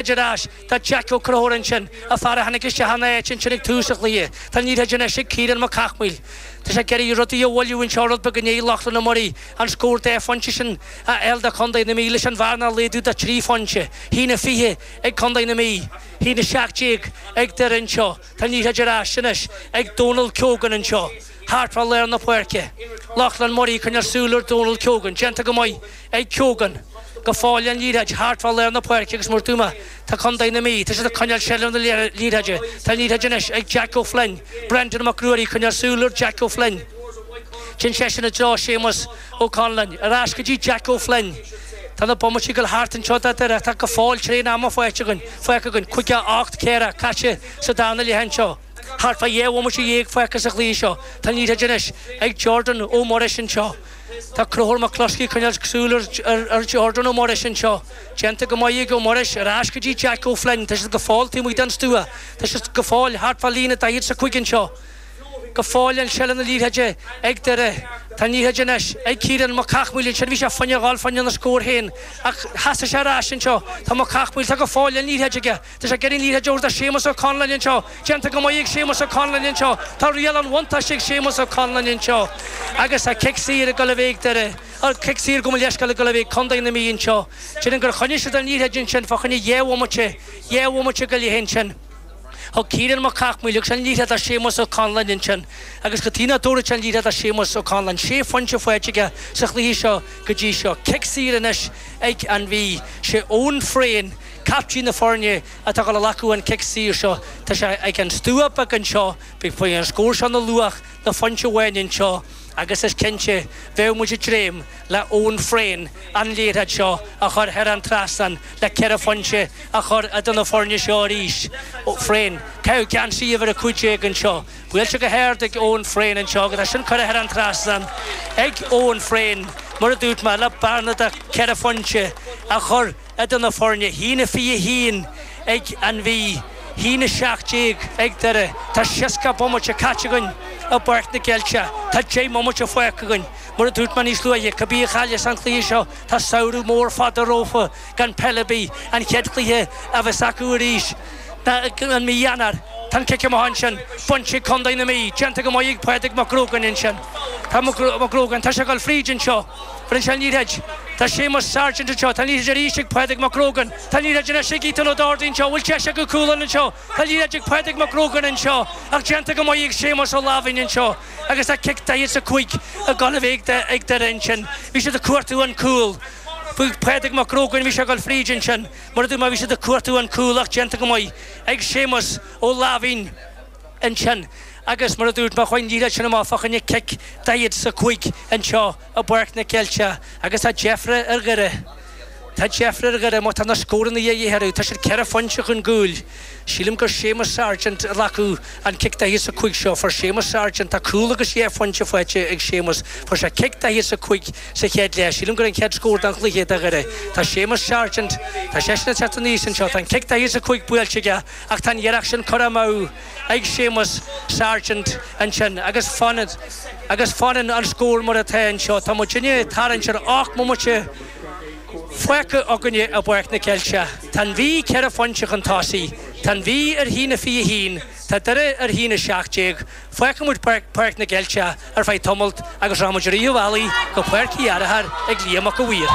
Ar ais do Jack Ó Conchúir ansin, an fear a tháinig isteach ina áit ansin ag tús an chluiche. Tá an liathróid anois ag Ciarán Mac Cathmhaoil. Tá sé ag iarraidh rudaí a mhoilliú anseo rud beag i ndiaidh Lochlainn Ó Muirí an scór dá phointe sin a fháil do Chontae na Mí leis an bhearna a laghdú do thrí phointe. 1-20 ag Contae na Mí, 1-17 ag Doire anseo. Tá an liathróid ar ais anois ag Dónal Keogan anseo thart fá lár na páirce. Lochlainn Murray ag coinneáil súil ar Dónal Keogan. Déanta go maith ag Keogan. Go fóill an liathróid thart fá lár na páirce agus mar a dúirt mé, tá Contae na Mí, tá siad ag coinneáil seilbh na liathróide. Tá an liathróid anois ag Jack O'Flynn. Brendan Mac Ruairí ag coinneáil súil ar Jack O'Flynn. Téann seisean i dtreo Séamus Ó Conluain. Ar ais go dtí Jack O'Flynn. Tá na bomaití ag dul thart anseo do Doire. Tá go fóill tréan ama faighte againn, fágtha againn. 58 ceathracha caite sa darna leath anseo. Thart fá dheich bhomaite dhéag fágtha sa chluiche seo. Tá an liathróid anois ag Jordan Ó Muiris anseo. Tá Conchúr Mac Cluskey ag coinneáil súil ar Jordan Ó Muiris anseo. Déanta go maith ag Ó Muiris. Ar ais go dtí Jack O'Flynn. Tá siad go fóill taobh amuigh den stua. Tá siad go fóill thart fá líne 40 's a 5 anseo. Go fóill an seilbh na liathróide ag Doire. Tá an liathróid anois ag Ciarán Mac Cathmhaoil ansin. Bhí sé fá choinne a dhul fá choinne an scór féin ach sheasaigh sé ar ais anseo. Tá Mac Cathmhaoil, tá go fóill an liathróid aige. Tá sé ag iarraidh an liathróid a thabhairt do Séamus Ó Conluain anseo. Déanta go maith ag Séamus Ó Conluain anseo. Tá riail an bhuntáiste ag Séamus Ó Conluain anseo agus tá cic saor ag dul a bheith ag Doire. Cic saor gabh mo leithscéal ag dul a bheith ag Contae na Mí anseo. Déarfainn gur choinnigh siad an liathróid ansin fá choinne dhá bhomaite, dhá bhomaite go leith ansin. Thug Ciarán Mac Cathmhaoil agus an liathróid do Séamus Ó Conluain ansin agus cad chuige nach dtabharfadh sé an liathróid do Séamus Ó Conluain. Sé phointe faighte aige sa chluiche seo go dtí seo. Cic saor anois ag an Mhí. Sé Eoin Frayne, caiptín na foirne, atá ag dul a ghlacadh an cic saor seo. Tá sé ag an stua beag anseo. Beidh an scór seo ina luach do phointe amháin anseo agus is cinnte bheadh muid ag dréim le Eoin Frayne an liathróid seo a chur thar an trasnán le ceithre phointe a chur idir na foirne seo arís. Frayne, caitheamh geansaí uimhir 15 anseo. Buailte go hard ag Eoin Frayne anseo agus é sin curtha thar an trasnán ag Eoin Frayne, mar a dúirt mé, le bearna de cheithre phointe a chur idir na foirne. 1-21 ag an Mhí, 1-17 ag Doire. Tá 60 bomaite caite againn i bPáirc na gCeilteach. Tá 10 mbomaite fágtha againn. Mar a dúirt mé níos luaithe, cibé a chailleas an cluiche seo, tá samhradh mór fada rompu gan peil ar bith. An chéad chluiche a bheas acu arís ná i mí Eanáir. Tá an cic amach ansin bainte ag Contae na Mí. Déanta go maith ag Pádraig Mac Grogáin ansin. Tá Mac Grogáin, tá sé ag dul fríd anseo. Bheireann sé an liathróid. Tá Séamus Sargent anseo. Tá an liathróid arís ag Pádraig Mac Grogáin. Tá an liathróid anois ag Ethan Ó Dochartaigh anseo. Bhfuil deis acu cúl anseo? Tá an liathróid ag Pádraig Mac Grogáin anseo ach déanta go maith ag Séamus Ó Láimhín anseo agus tá cic 45 ag dul a bheith ag Doire ansin. Bhí siad ag cuartú an cúl. Bhuaigh Pádraig Mac Grogáin, bhí sé ag dul fríd ansin. Mar a dúirt mé, bhí siad ag cuartú an cúl ach déanta go maith ag Séamus Ó Láimhín ansin agus mar a dúirt mé, chuaigh an liathróid sin amach fá choinne cic 45 anseo i bPáirc na gCeilteach agus tá deifre ar Dhoire. Tá deifre ar Dhoire má tá na scóranna a dhíth orthu. Tá siad ceithre phointe chun cúil. Sílim gur Séamus Sargent a ghlacfaidh an cic 45 seo. Fuair Séamus Sargent, tá cúl agus dhá phointe faighte ag Séamus. Fuair sé cic 45 sa chéad leath. Sílim gur an chéad scór den chluiche do Dhoire. Tá Séamus Sargent, tá seisean ag teacht aníos anseo. Tá an cic 45 buailte aige ach tá an iarracht sin curtha amú ag Séamus Sargent ansin agus fanann agus fanann an scór mar atá anseo. Tá muidinne ag tarraingt ar 8 mbomaite fágtha againne i bPáirc na Ceilteach. Tá an Mhí ceithre phointe chun tosaigh. Tá an Mhí ar 1-21, tá Doire ar 1-17. Fágfaidh muid Páirc na gCeilteach ar feadh tamalt agus rachaidh muid i rith an bhealaigh go Páirc Uí Fhearchair ag Liam Mac a' Mhaoir.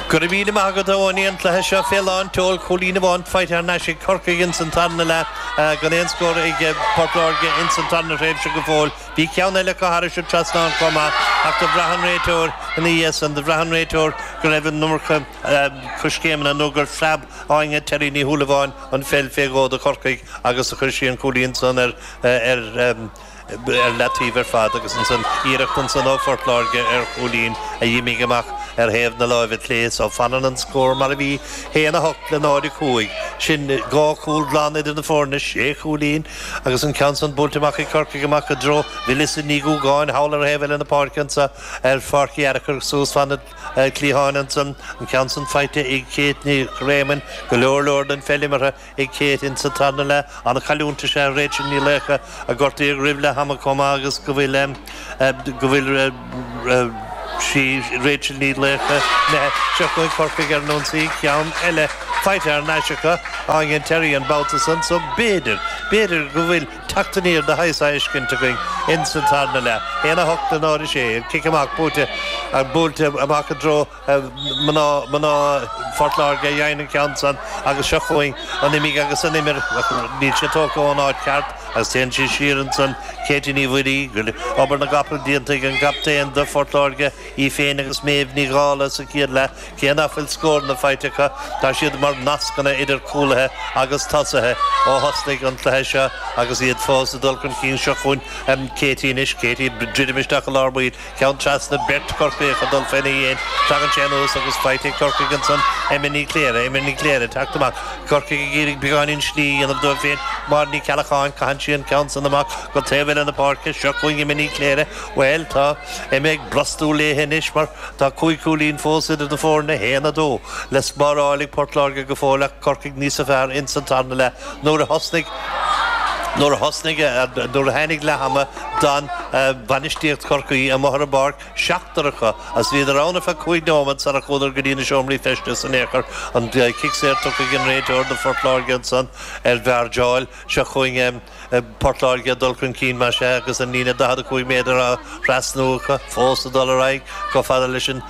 Go raibh míle maith agat a Eoiní, an cluiche seo fé lán tseoil, cúilín amháin faighte thar n-ais ag Corcaigh ins an tarna leath, gan aon scór ag Port Láirge ins an tarna thréimhse go fóill. Bhí ceann eile acu thairis an trasnán chomh maith ach do bhraith an réiteoir ina dhiaidh san, do bhraith an réiteoir go raibh an iomarca coiscéimeanna nó gur phreab Áine Terry Ní Shúilleabháin an pheil fé dhó do Chorcaigh agus do chuir sí an cúilín san ar ar leataobh ar fad agus ansan iarracht ansan ó Phort Láirge ar chúilín a dh'imigh amach ar thaobh na láimhe clé so fanann an scór mar a bhí, 1-8 le 0-5. Sin dhá chúl glan idir na foirne, sé chúilín agus an ceann san buailte amach ag Corcaigh amach i dtreo Mhelissa Ní Dhúgáin thall ar thaobh eile na páirce anso ar Pháirc Uí Fhearchair suas fan na cliatháin ansan, an ceann san faighte ag Kate Nic Réamoinn, go leor leor den pheil imeartha ag Kate insa tarna leath. An-chailliúint is ea Rachel Ní Laochdha a gortaíodh roimh leath ama chomh maith agus go bhfuil go bhfuil sí Rachel Ní Laochdha imithe. Seo chugainn Corcaigh ar an ionsaí, ceann eile. Faighte thar n-ais acu, Áine Terry an babhta san, so b'fhéidir, b'fhéidir go bhfuil teacht aniar de shaghas á fheiscint againn ins an tarna leath. 1, 8 le 0, 6, an cic amach buaite, buailte amach i dtreo mná, mná Phort Láirge a fhaigheann an ceann san agus seo chugainn an imigh agus an imir, níl sé tógtha ón áit cheart agus téann sí siar ansan, Katie Ní Mhuirí, obair na gcapall déanta ag an gcaptaen do Phort Láirge, í féin agus Méabh Ní Dhála sa chéad leath. Cé nach bhfuil scóranna faighte acu, tá siad mar nascanna idir cúlaithe agus tosaithe ó thosnaigh an cluiche seo agus iad fós ag dul chun cinn. Seo chugainn Katie anois. Katie ag druidim isteach i lár baill. Ceann trasna, beirt Chorcaíoch ag dul faoina dhéin. Tagann sé anuas agus faighte ag Corcaigh ansan. Emma Ní Chléire. Emma Ní Chléire ag teacht amach. Corcaigh ag iarraidh beagáinín slí a dhéanamh dóibh féin. Máire Ní Cheallacháin, caitheann sí an ceann san amach go taobh eile na páirce. Seo chugainn Emma Ní Chléire. Bhuel, tá Emma ag brostú léithe anois mar tá 5 chúilín fós idir na foirne, 1, 2, le spáráil ag Port Láirge go fóill ach Corcaigh níosa fearr ins an tarna leath. Nuair a thosnaigh Nuair a thosnaigh Nuair a tháinig leath ama d'fhan bainistíocht Chorcaí amuigh ar an bpáirc, seachtar acu, agus bhíodar ann ar feadh 5 nóiméad sara chuadar go dtí na seomraí feistis in aon chor. An cic saor tugtha ag an réiteoir do Phort Láirge ansan ar mheairdeáil. Seo chugainn. Port Láirge ag dul chun cinn, más ea, agus an líne 45 méadar á thrasnú acu, fós ag dul ar aghaidh chomh fada leis an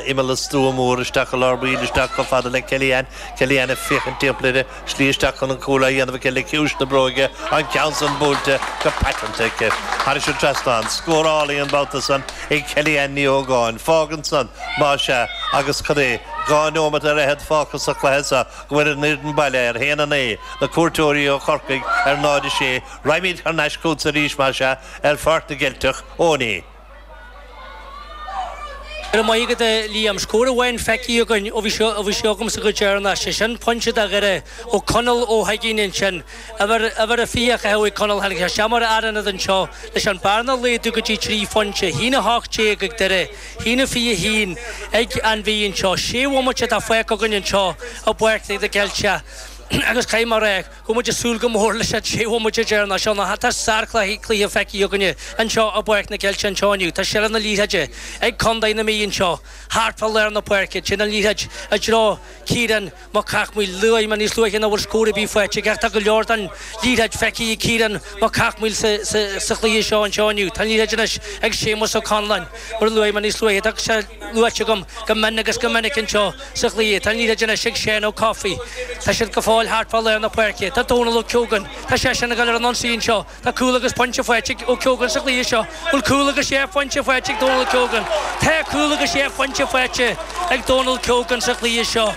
imeall an stua mór isteach i lár baill, isteach chomh fada le Kellyanne, Kellyanne ag féachaint timpeall uirthi, slí isteach chun an cúil á dhéanamh aici le ciumhais na bróige, an ceann san buailte go paiteanta aici thairis an trasnán. Scór álainn an babhta san ag Kellyanne Ní Ógáin. Fágann san, más ea, agus cad é, 2 neomat ar fhichead fágtha sa chluiche seo, go bhfuil an fhoireann baile ar 1-9, na cuairteoirí ó Chorcaigh ar 0-6. Raghaimid thar n-ais chugatsa arís, más ea, ar Pháirc na gCeilteach, Eoiní. Go raibh maith agat, a Liam. Scór amháin feicthe againn ó bhí sé agamsa go deireanach, sé sin pointe do Dhoire ó Conall Ó hUiginn ansin. Uimhir, uimhir a 24 ag Conall. Tháinig sé isteach mar fhear ionaid anseo leis an bearna a laghdú go dtí 3 phointe, 1-18 ag Doire. 1-21 ag an Mhí anseo. Sé bhomaite atá fágtha againn anseo i bPáirc na gCeilteach agus caithfidh mé a rá go bhfuil muid ag súil go mór leis an sé bhomaite deireanach seo nó tá sárchluiche feicthe againne anseo i bPáirc na gCeilteach anseo inniu. Tá seilbh na liathróide ag Contae na Mí anseo thart fá lár na páirce. Téann an liathróid i dtreo Ciarán Mac Cathmhaoil, luaigh mé níos luaithe nach bhfuil scór ar bith faighte aige ach tá go leor den liathróid feicthe ag Ciarán Mac Cathmhaoil sa chluiche seo anseo inniu. Tá an liathróid anois ag Séamus Ó Conláin, mar a luaigh mé níos luaithe. Tá sé luaite agam go mion agus go minic anseo sa chluiche. Tá an liathróid anois ag Seán Ó Cofaigh. Tá siad go fóill thart fá lár na páirce. Tá Dónal Ó Ceogáin. Tá seisean ag dul ar an ionsaí anseo. Tá cúl agus pointe faighte ag Ó Ceogáin sa chluiche seo. Bhfuil cúl agus sé phointe faighte ag Dónal Keogan? Tá cúl agus sé phointe faighte ag Dónal Keogan sa chluiche seo.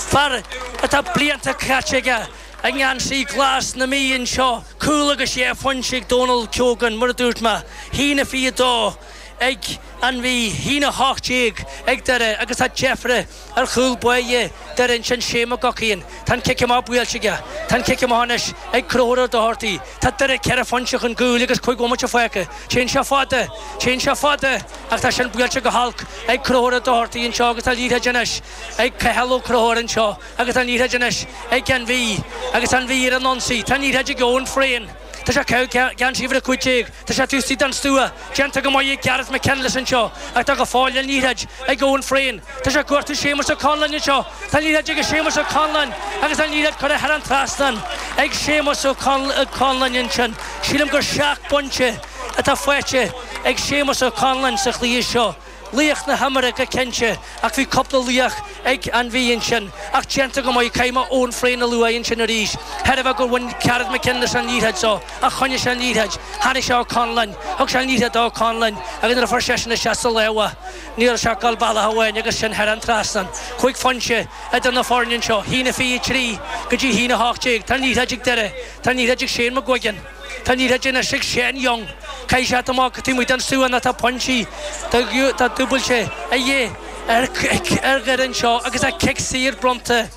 Fear atá blianta caite aige i ngeansaí glas na Mí anseo. Cúl agus sé phointe ag Dónal Keogan, mar a dúirt mé. 1-22 ag an Mhí, 1-18 ag Doire agus tá deifre ar chúl báire Doire ansin, Shane McGuckian. Tá an cic amach buailte aige. Tá an cic amach anois ag Conchúr Ó Dochartaigh. Tá Doire ceithre phointe chun cúil agus cúig bhomaite fágtha. Téann sé fada. Téann sé fada ach tá sin buailte go holc ag Conchúr Ó Dochartaigh anseo agus tá liathróid anois ag Cathal Ó Conchúir anseo agus tá an liathróid anois ag an Mhí agus tá an Mhí ar an ionsaí. Tá an liathróid ag Eoin Frayne. Tá sé ag caitheamh geansaí uimhir 15. Tá sé taobh istigh den stua. Déanta go maith ag Gareth McKinless anseo ach tá go fóill an liathróid ag Eoin Frayne. Tá sé ag cuartú Séamus Ó Conláin anseo. Tá an liathróid ag Séamus Ó Conláin agus an liathróid curtha thar an trasnán ag Séamus Ó Conláin ansin. Sílim gur seacht bpointe atá faighte ag Séamus Ó Conláin sa chluiche seo. Laoch na himeartha go cinnte ach bhí cúpla laoch ag an Mhí ansin ach déanta go maith. Caithfidh mé Eoin Frayne a lua ansin arís. Thairbhe gur bhain Gareth McKinless an liathróid so ach choinnigh sé an liathróid. Tháinig sé Ó Conláin, thug sé an liathróid do Ó Conláin agus nuair a fuair seisean isteach sa lámha ní raibh sé ach ag dul bealach amháin agus sin thar an trasnán. Cúig phointe idir na foirne anseo, 1-23 go dtí 1-18. Tá an liathróid ag Doire. Tá an liathróid ag Shane McGuigan. Tá an liathróid anois ag Shane Young. Caithfidh sé amach taobh amuigh den stua nó tá pointí tá dúbailte a dhíth ar Dhoire anseo agus tá cic saor bronnta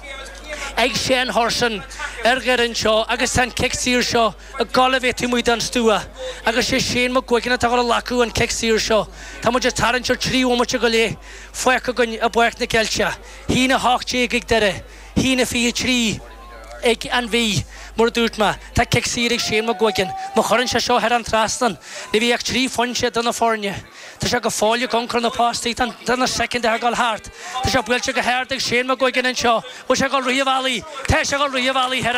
ag Shane Hurson ar Dhoire anseo agus tá an cic saor seo ag dul a bheith taobh amuigh den stua agus sé Shane McGuigan atá ag dul a ghlacadh an cic saor seo. Tá muid ag tarraingt ar 3 bhomaite go leith fágtha againn i bPáirc na gCeilteach. 1-18 ag Doire, 1-23. ag an Mhí. Mar a dúirt mé, tá cic saor ag Shane McGuigan. Má chuireann sé seo thar an trasnán, ní bheidh ach 3 phointe idir na foirne. Tá sé go fóill ag ioncar na postaí, tá na soicind ag dul thart. Tá sé buailte go hard ag Shane McGuigan anseo. Bhfuil sé ag dul rith an bhealaigh? Tá sé ag dul rith an bhealaigh thar.